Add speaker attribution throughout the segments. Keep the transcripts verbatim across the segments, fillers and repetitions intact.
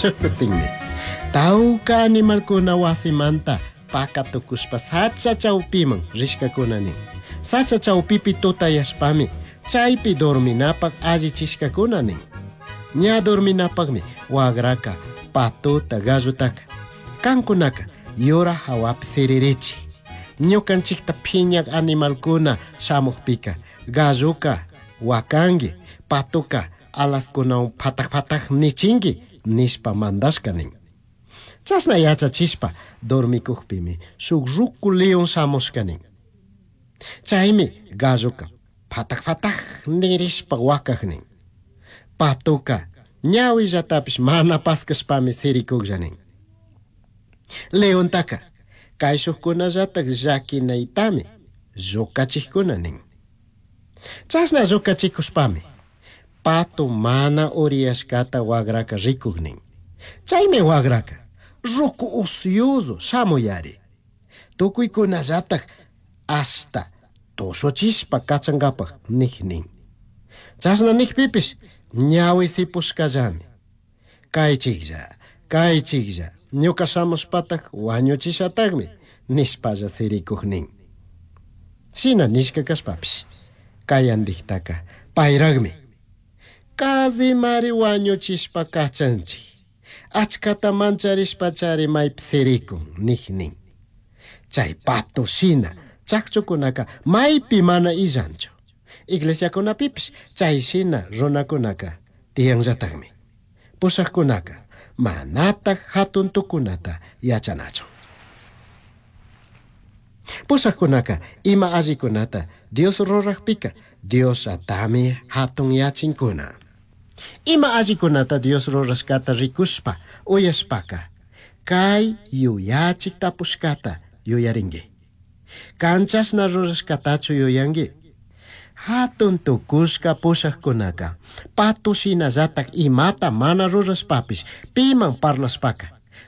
Speaker 1: Shukutinmi tawka animalkuna wasimanta pakatukushpa sacha chawpiman rishkakuna nin. Sacha chawpipi tutayashpami chaypi dorminapak allichishkakuna nin. Ña dorminapakmi wagraka patuta gallutaka kankunaka yura hawapi siririchik. Ñukanchikta phiñak animalkuna shamukpika galluka wakanki patuka alaskunawan phatak phatak nichinki nishpa mandashka nin. Chashna yachachishpa dormikukpimi shuk ruku león shamushka nin. Chaymi galluka phatak phatak nirishpa wakak nin. Patuka ñawillatapish mana paskashpami sirikuklla nin. Leontaka kayshukkunallatak llakinaytami llukachikkuna nin. Chashna llukachikushpami pato mana uriyashkata wagraka rikuk nin. Chaymi wagraka ruku ocioso shamuyari. Tukuykunallatak hasta tushuchishpa kachankapak nik nin. Chashna nikpipish ñawi sipushkallami. Kaychiklla, kaychiklla, ñuka shamushpatak wañuchishatakmi nishpalla sirikuk nin. Shina nishka kashpapish kayandiktaka payraqmi. Kazimari wañuchishpa kachanchik. Achkata mancharishpachari maypi sirikun nik nin. Chay pato shina chakchukunaka maypi mana illanchu. Iglesiakunapipish chay shina runakunaka tiyanllatakmi. Pushaqkunaka manataq hatun tukunata yachanachu. Pushaqkunaka ima allikunata Dios ruraqpika Dios atami hatun yachinkuna. Ima allikunata Dios rurashkata rikushpa uyashpaka kay yuyachik tapushkata yuyarinki. Kanchashna rurashkatachu yuyanki. Hatun tukushka pushaqkunaka pato shinallatak imata mana rurashpapish piman parlashpaka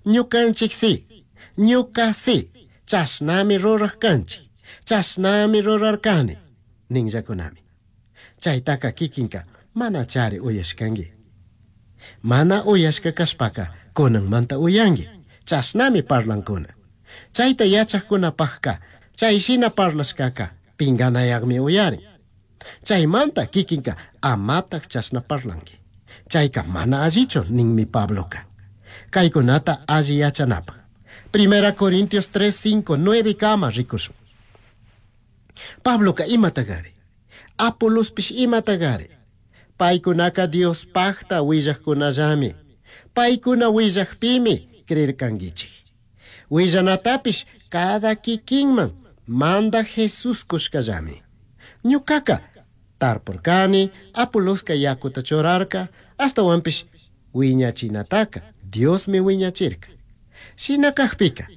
Speaker 1: ñukanchik si, ñuka si, chashnami ruraq kanchik, chashnami rurarkani ninllakunami. Chaytaka kikinka mana chari uyashkanki. Mana uyashka kashpaka kunanmanta uyanki, chashnami parlankuna. Chayta yachaqkunapaqka chay shina parlashkaka pinganayaqmi uyarin. Chaymanta kikinka amataq chashna parlanki. Chayka mana allichu ninmi Pabloka. Kaykunata alli yachanapaq. Primera Corintios tres, cinco, nueve kama rikushun. Pabloka imatagari. Apolospish imatagari. Paykunaka Dios paqta willaqkunallami. Paykuna willaqpimi creerkankichik. Willanatapish cada kikinman manda Jesús kushkallami. Ñukaka tarpurkani, Apoloska yakuta churarka, astawanpish wiñachinataka Diosmi wiñachirka. Shina kaqpika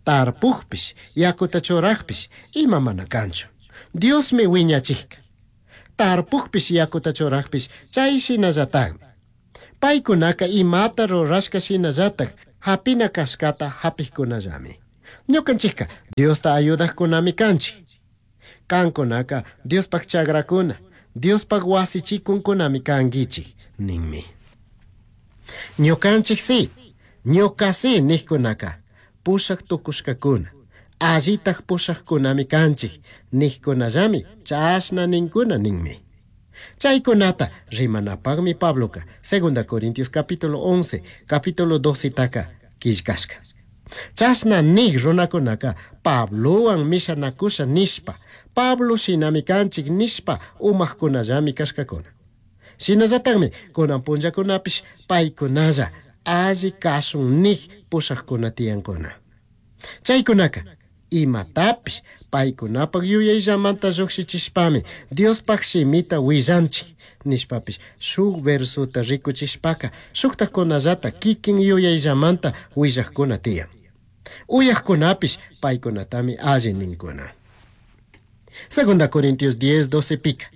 Speaker 1: tarpukpish yakuta churaqpish ima mana kanchu. Diosmi wiñachikka. Tarpukpish yakuta churaqpish chay shinallatakmi. Paykunaka imata rurashka shinallatak hapina kashkata hapikkunallami. Ñukanchikka Diosta ayudaqkunami kanchik. Kankunaka Diospaq chagrakuna, Diospaq wasichikunkunami kankichik ninmi. Ñukanchik si, ñuka si niqkunaka pushaq tukushkakuna, allitaq pushaqkunami kanchik niqkunallami chashna ninkuna ninmi. Chaykunata rimanapaqmi Pabloka Segunda Corintios capítulo once, capítulo doce taka killkashka. Chashna nik runakunaka Pablowan mishanakusha nishpa, Pablo shinami kanchik nishpa umaqkunallami kashkakuna. Shinallatakmi kunan punllakunapish paykunalla alli kashun nik pushaqkuna tiyankuna. Chaykunaka imatapish paykunapaq yuyayllamanta lluqshichishpami Diospaq shimita willanchik nishpapish shuk versuta rikuchishpaka shuktakunallata kikin yuyayllamanta willaqkuna tiyan. Uyaqkunapish paykunatami alli ninkuna. Segunda Corintios diez, doce pika.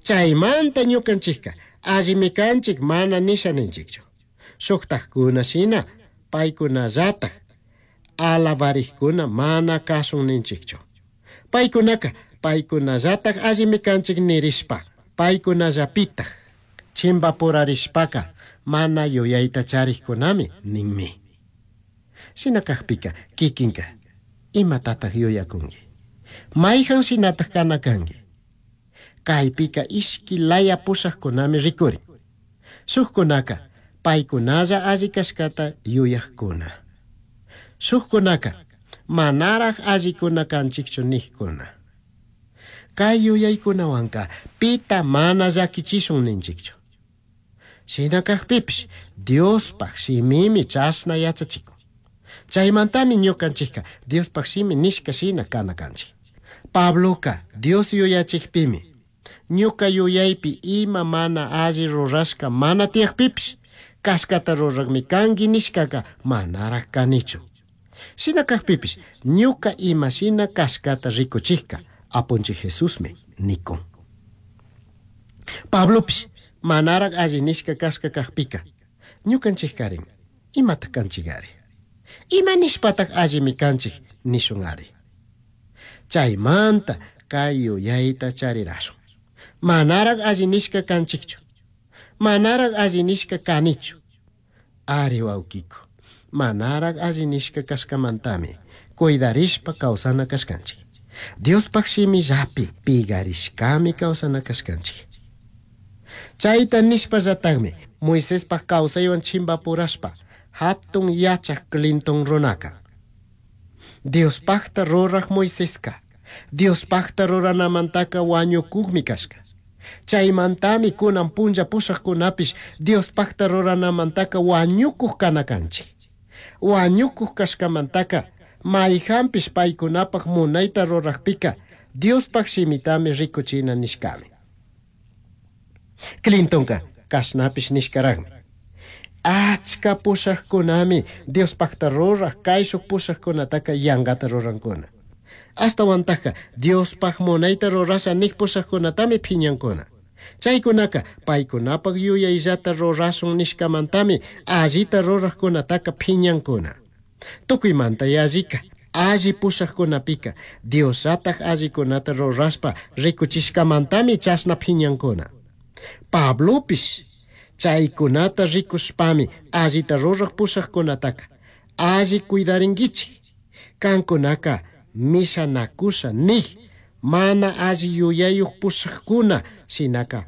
Speaker 1: Chaymanta ñukanchikka allimi kanchik mana nisha ninchikchu. Shuktakkuna shina paykunallatak alabarikkuna mana kasun ninchikchu. Paykunaka paykunallatak allimi kanchik nirishpa paykunallapitak chimbapurarishpaka mana yuyayta charijkunami ninmi. Shina kajpika kikinka imatataj yuyakunki? Mayhan shinataj kana kanki? Kaypika ishki laya pushajkunami rikurin. Shukkunaka paykunalla alli kashkata yuyajkuna. Shukkunaka manaraj allikuna kanchikchu nijkuna. Kay yuyaykunawanka pita mana llakichishun ninchikchu. Shina kajpipish Diospaj shimimi chashna yachachikun. Chaymantami ñukanchikka Diospaj shimi nishka shina kana kanchik. Pabloka Dios yuyachikpimi ñuka yuyaypi ima mana alli rurashka mana tiyakpipish kashkata rurakmi kanki nishkaka manaraj kanichu. Shina kajpipish ñuka ima shina kashkata rikuchikka Apunchik Jesusmi nikun. Pablopish manaraj alli nishka kashka kajpika ñukanchikkarin imataj kanchikari? Ima nishpataj allimi kanchik nishun ari? Chaymanta kay yuyayta charirashun. Manaraj alli nishka kanchikchu. Manaraj alli nishka kanichu. Ari wawkiku, manaraj alli nishka kashkamantami cuidarishpa kawsana kashkanchik. Diospaj shimillapi pigarishkami kawsana kashkanchik. Chayta nishpallatakmi Moisespaj kawsaywan chimpapurashpa hatun yachaj Clinton runaka. Diospajta ruraj Moiseska Diospajta ruranamantaka wañukukmi kashka. Chaymantami kunan punlla pushajkunapish Diospajta ruranamantaka wañukuj kana kanchik. Wañukuj kashkamantaka mayhanpish paykunapaj munayta rurajpika Diospaj shimitami rikuchina nishkami. Clintonka kashnapish nishkarajmi. Achka pushajkunami Diospajta ruraj kayshuk pushajkunataka yankata rurankuna. Ashtawantajka Diospaj munayta rurasha nik pushajkunatami phiñankuna. Chaykunaka paykunapaj yuyayllata rurashun nishkamantami allita rurajkunataka phiñankuna. Tukuymanta yallika alli pushajkunapika Diosllataj allikunata rurashpa rikuchishkamantami chashna phiñankuna. Pablopish chaykunata rikushpami allita ruraj pushajkunataka alli cuidarinkichik. Kankunaka mishanakusha nij mana alli yuyayuj pushajkuna shinaka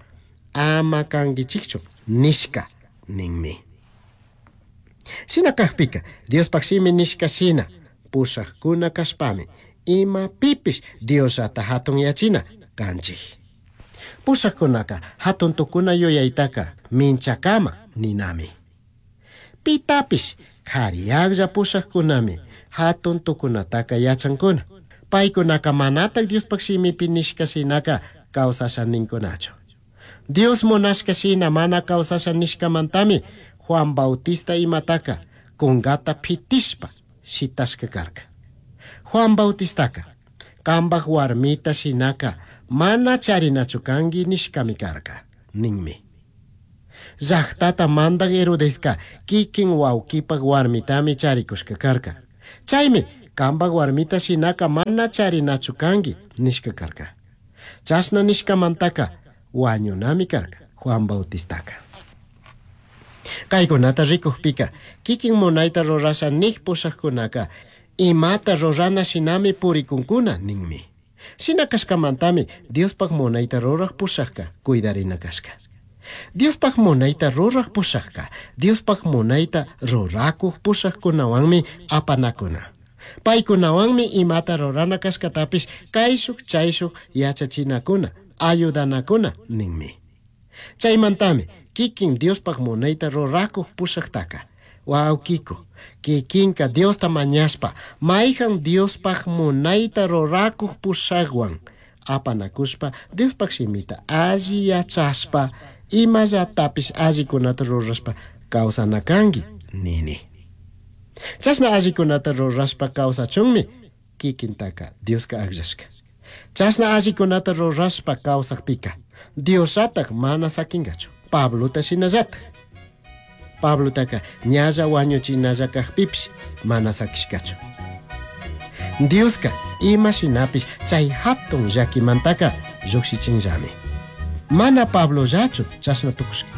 Speaker 1: ama kankichikchu nishka ninmi. Shina kajpika Diospaj shimi nishka shina pushajkuna kashpami imapipish Diosllata hatunyachina kanchik. Pushajkunaka hatun tukuna yuyaytaka minchakama ninami. Pitapish kariyaklla pushajkunami hatun tukunataka yachankuna. Paykunaka manataj Diospaj shimipi nishka shinaka kawsasha ninkunachu. Dios munashka shina mana kawsasha nishkamantami Juan Bautista imataka kunkata pitishpa shitashka karka. Juan Bautistaka kambaj warmita shinaka mana charinachu kanki nishkami karka ninmi. Llaqtata mandaj Herodeska kikin wawkipaj warmitami charikushka karka. Chaymi kambaj warmita shinaka mana charinachu kanki nishka karka. Chashna nishkamantaka wañunami karka Juan Bautistaka. Kaykunata rikujpika kikin munayta rurasha nik pushajkunaka imata rurana shinami purikunkuna ninmi. Shina kashkamantami Diospaj munayta ruraj pushajka cuidarina kashka. Diospaj munayta ruraj pushajka Diospaj munayta rurakuj pushajkunawanmi apanakuna. Paykunawanmi imata rurana kashkatapish kayshuk chayshuk yachachinakuna ayudanakuna ninmi. Chaymantami kikin Diospaj munayta rurakuj pushajtaka wawkiku kikinka Diosta mañashpa mayhan Diospaj munayta rurakuj pushajwan apanakushpa Diospaj shimita alli yachashpa imallatapish allikunata rurashpa kawsana kanki nini. Chashna allikunata rurashpa kawsachunmi kikintaka Dioska akllashka. Chashna allikunata rurashpa kawsakpika Diosllataj mana sakinkachu. Pablota shinallataj. Pablotaka ñalla wañuchinalla kajpipish mana sakishkachu. Dioska ima shinapish chay hatun llakimantaka llukshichinllami. Mana Pablollachu chashna tukushka.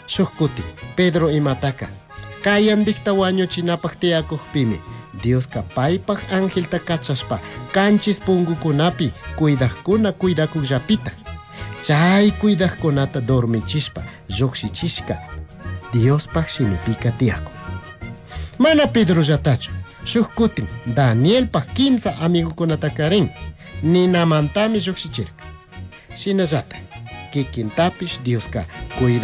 Speaker 1: Shuj cutin Pedro imataca cayandijta huañuchinapaj tiyacujpimi Diosca paipaj angelta cachashpa canchis pungucunapi cuidajcuna cuidacujllapitaj chay cuidajcunata dormichishpa llujshichishca Diospaj shimipika tiyacun. Mana Pedrollatachu shuj cutin Danielpaj kimsa amigocunatakarin ninamantami llujshichirca. Shinallataj kikintapish Dioska cuida